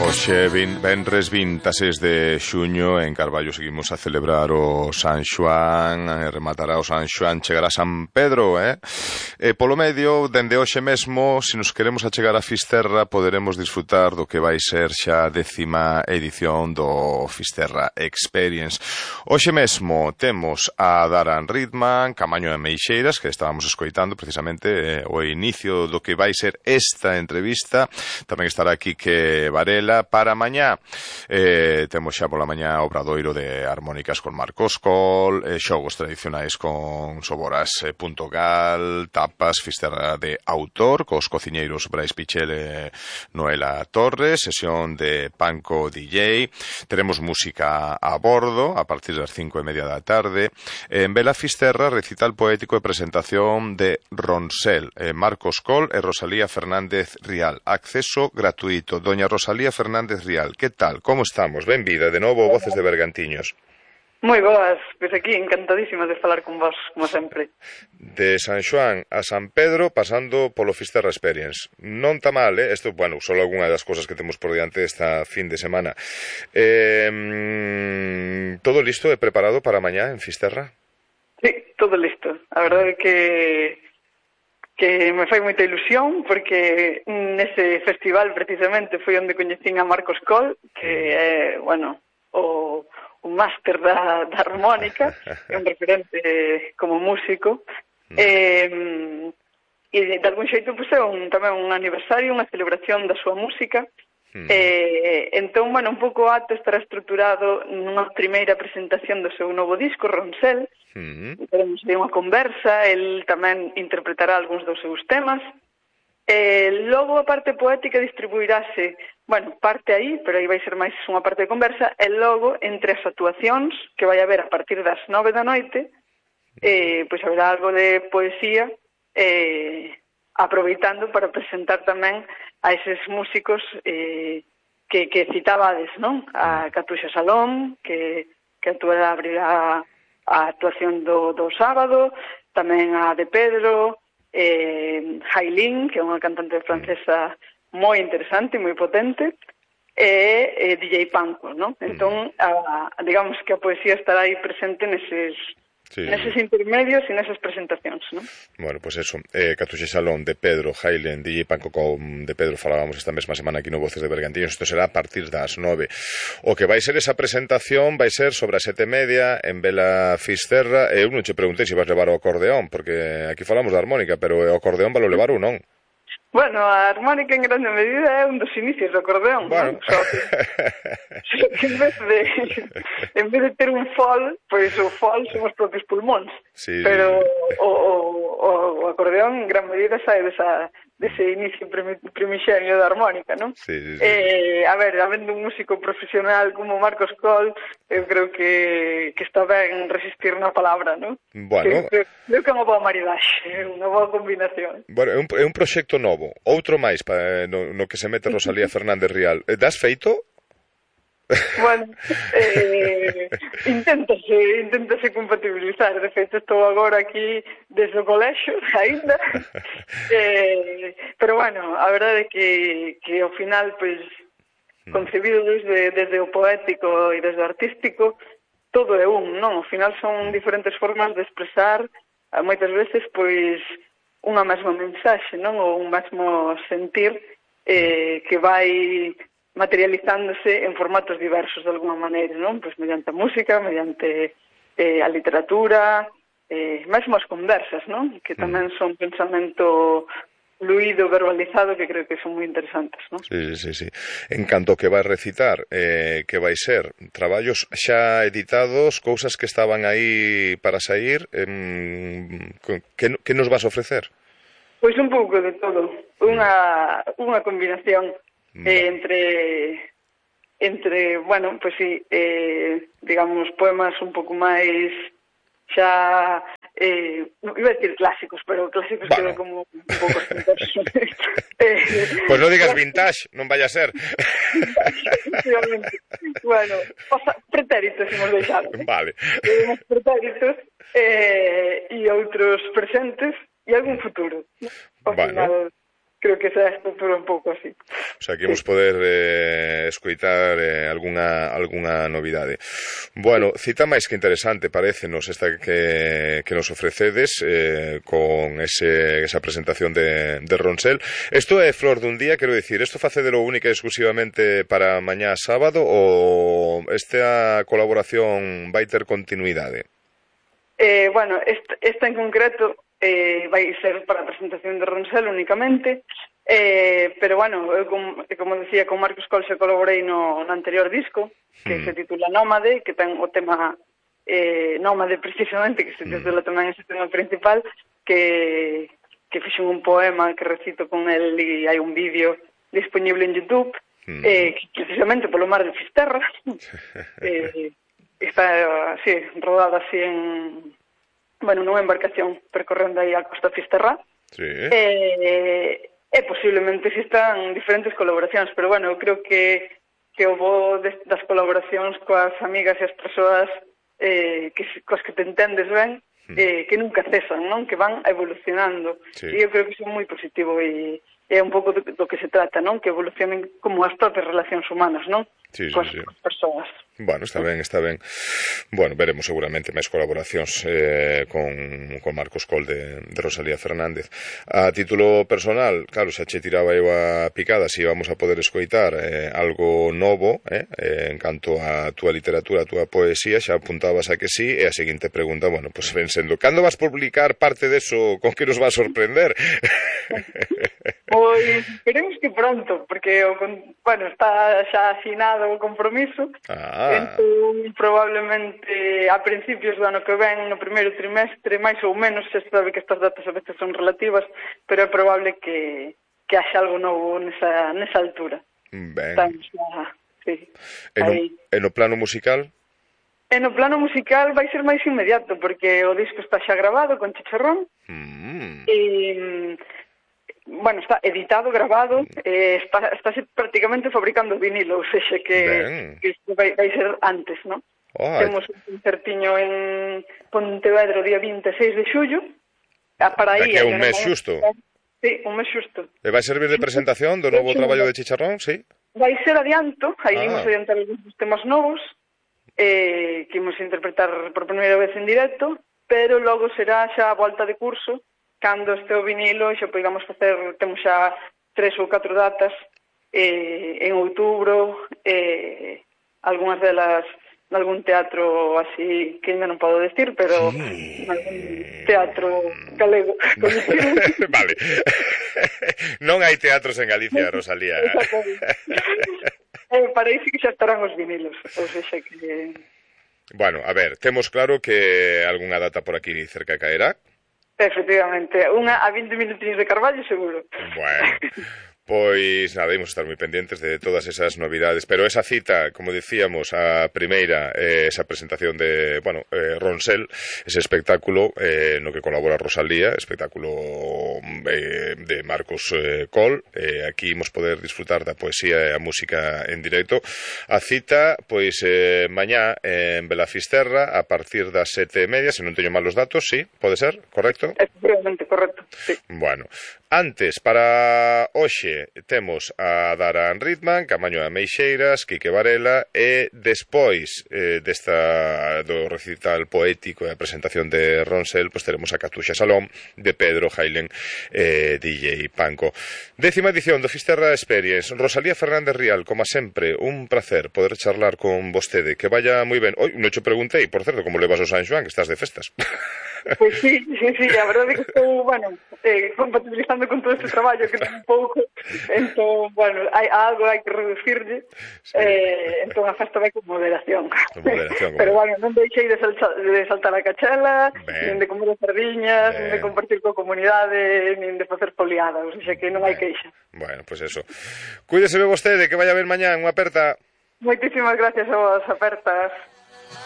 Hoxe, venres 26 de xuño, en Carballo seguimos a celebrar o San Xoán, rematará o San Xoán, chegará San Pedro, polo medio, dende hoxe mesmo, se nos queremos achegar a Fisterra, poderemos disfrutar do que vai ser xa a 10ª edición do Fisterra Experience. Hoxe mesmo temos a Daran Ridman, Camaño de Meixeiras, que estábamos escoitando precisamente o inicio do que vai ser esta entrevista. Tamén estará aquí que Varela. Para mañá temos xa pola mañá obradoiro de armónicas con Marcos Coll, xogos tradicionais con Soboras.gal, tapas, fisterra de autor cos cociñeiros Brais Pichel e Noela Torres, sesión de Panco DJ, teremos música a bordo a partir das 5:30 da tarde, en Vela Fisterra recital poético e presentación de Ronsel, Marcos Coll e Rosalía Fernández Rial, acceso gratuito. Doña Rosalía Fernández Rial, que tal? Como estamos? Benvida de novo, Voces de Bergantiños. Moi boas, pois aquí encantadísima de falar con vos, como sempre. De San Xoán a San Pedro, pasando polo Fisterra Experience. Non está mal, Isto, bueno, só algunha das cosas que temos por diante esta fin de semana. Todo listo e preparado para mañá en Fisterra? Sí, todo listo. A verdade é que me fai moita ilusión porque nese festival precisamente foi onde coñecín a Marcos Coll, que é, bueno, o máster da armónica, é un referente como músico, e de algún xeito pues, é tamén un aniversario, unha celebración da súa música. Entón, bueno, un pouco o acto estará estruturado nunha primeira presentación do seu novo disco, Ronsel. Teremos aí unha conversa, el tamén interpretará algúns dos seus temas. Logo a parte poética distribuirase, bueno, parte aí, pero aí vai ser máis unha parte de conversa, e logo entre as actuacións que vai haber a partir das 9 da noite, pois haberá algo de poesía, aproveitando para presentar tamén a eses músicos que citabades, non? A Catuxa Salón, que actuará, abrirá a actuación do sábado, tamén a de Pedro, Hailin, que é unha cantante francesa moi interesante e moi potente, e DJ Panco, non? Entón, digamos que a poesía estará aí presente neses intermedios e nesas presentacións, non? Bueno, pois eso, Catuxe Salón, de Pedro, Hailen, DJ Panco con de Pedro falábamos esta mesma semana aquí no Voces de Bergantiños. Isto será a partir das 9. O que vai ser esa presentación vai ser sobre as 7:30 en Vela Fisterra. Eu non che preguntei se vas levar o acordeón, porque aquí falamos de armónica, pero o acordeón vai lo levar ou non? Bueno, a armónica en grande medida é un dos inicios do acordeón, bueno. Non? Que en vez de ter un fol, pois o fol son os propios pulmóns. Sí, pero o acordeón en gran medida sae dese inicio primixenio da armónica, non? Sí. A ver, habendo un músico profesional como Marcos Coll, eu creo que está ben resistir na palabra, non? Bueno. Creo que é unha boa maridaxe, unha boa combinación. Bueno, é un proxecto novo, outro máis no que se mete Rosalía Fernández Rial. Das feito? Bueno, inténtase compatibilizar. De feito, estou agora aquí desde o colexo, aínda. Pero, bueno, a verdade é que ao final, pois, concebido desde o poético e desde o artístico, todo é non? Ao final son diferentes formas de expresar, moitas veces, pois, unha mesma mensaxe, non? Ou un mesmo sentir que vai materializándose en formatos diversos de alguma maneira, non? Pois mediante a música, mediante a literatura, mesmo as conversas, non? Que tamén son pensamento fluido, verbalizado, que creo que son moi interesantes, non? Sí. En canto que vai recitar, que vai ser traballos xa editados, cousas que estaban aí para sair, que nos vas a ofrecer? Pois un pouco de todo, unha combinación entre, bueno, pois sí, digamos, poemas un pouco máis xa, iba a decir clásicos, pero clásicos quedan como un pouco espantosos. Pois non digas vintage, non vaya a ser. Bueno, pretéritos imos deixar. Vale. Uns pretéritos e outros presentes e algún futuro. Ao final, creo que esa estrutura un pouco así. O sea, que imos poder escoitar algunha novidade. Bueno, cita máis que interesante, parécenos, esta que nos ofrecedes con esa presentación de Ronsel. Isto é flor dun día, quero dicir, isto facedelo única e exclusivamente para mañá sábado ou esta colaboración vai ter continuidade? Bueno, esta en concreto vai ser para a presentación de Ronsel únicamente, pero bueno, eu como decía, con Marcos Coll se colaborei no anterior disco, que se titula Nómade, que ten o tema Nómade precisamente, que se titula tamén ese tema principal, que fixen un poema que recito con el e hai un vídeo disponible en YouTube, que precisamente polo mar de Fisterra, está así, rodada así nunha embarcación percorrendo aí a costa Fisterra. Sí. E posiblemente existan diferentes colaboracións, pero bueno, eu creo que o bo das colaboracións coas amigas e as persoas coas que te entendes ben, que nunca cesan, non? Que van evolucionando. Sí. E eu creo que iso é moi positivo e é un pouco do que se trata, non? Que evolucionen como as propias relacións humanas, non? Sí, coas persoas. Bueno, está ben. Bueno, veremos seguramente máis colaboracións con Marcos Coll de Rosalía Fernández. A título personal, claro, xa che tiraba eu a picada se íbamos a poder escoitar algo novo en canto a túa literatura, a túa poesía, xa apuntabas a que sí, e a seguinte pregunta, bueno, pues ven sendo, cando vas publicar parte deso con que nos va a sorprender? Pois esperemos que pronto, porque está xa asinado o compromiso. Entón, probablemente a principios do ano que ven, no primeiro trimestre, máis ou menos, se sabe que estas datas a veces son relativas, pero é probable que haxa algo novo nesa altura. Ben. Sí. E no plano musical? E no plano musical vai ser máis inmediato, porque o disco está xa grabado con Chicharrón, bueno, está editado, grabado, está prácticamente fabricando vinilo, ou seja, que vai ser antes, non? Temos un concertiño en Pontevedra o día 26 de xullo. Daqui a un mes xusto. Sí, un mes xusto. E vai servir de presentación do novo traballo de Chicharrón, sí? Vai ser adianto, aí imos adiantar algúns temas novos, que imos interpretar por primeira vez en directo, pero logo será xa a volta de curso, cando este o vinilo, xa podamos facer, temos xa 3 ou 4 datas en outubro, algunhas delas nalgún teatro así que ainda non podo decir, pero nalgún teatro galego. Vale. Non hai teatros en Galicia, Rosalía. Parece que xa estarán os vinilos, ou seja que... Bueno, a ver, temos claro que algunha data por aquí cerca caerá. Efectivamente, unha a 20 minutinhos de Carballo seguro. Bueno, pois nada, imos estar moi pendentes de todas esas novidades, pero esa cita, como dicíamos, a primeira, esa presentación de, Ronsel, ese espectáculo no que colabora Rosalía, espectáculo de Marcos Coll, aquí imos poder disfrutar da poesía e a música en directo. A cita, pois, mañá en Belafisterra, a partir das 7:30, se non teño mal os datos, sí, pode ser, correcto? Efectivamente, correcto, sí. Bueno, antes, para hoxe, temos a Dara Ritman, Camaño de Meixeiras, Quique Varela, e despois do recital poético e a presentación de Ronsel, pois teremos a Catuxa Salón de Pedro Jailen, DJ Panco. 10ª edición do Fisterra Experience. Rosalía Fernández Rial, como sempre, un placer poder charlar con vostede, que vaya moi ben. Oi, non che preguntei, por certo, como levas o San Xoán, que estás de festas. Pois sí, a verdade é que estou, compatibilizando con todo este traballo que ten un pouco, entón, algo hai que reducirlle, entón a festa vai con moderación. Pero, non deixei de saltar a cachela, nin de comer as sardiñas, nin de compartir coa comunidade, nin de facer poliadas, ou seja que non hai queixa. Bueno, pois eso. Cuídese vostede, que vaya ben mañá, unha aperta. Moitísimas gracias a vos, apertas.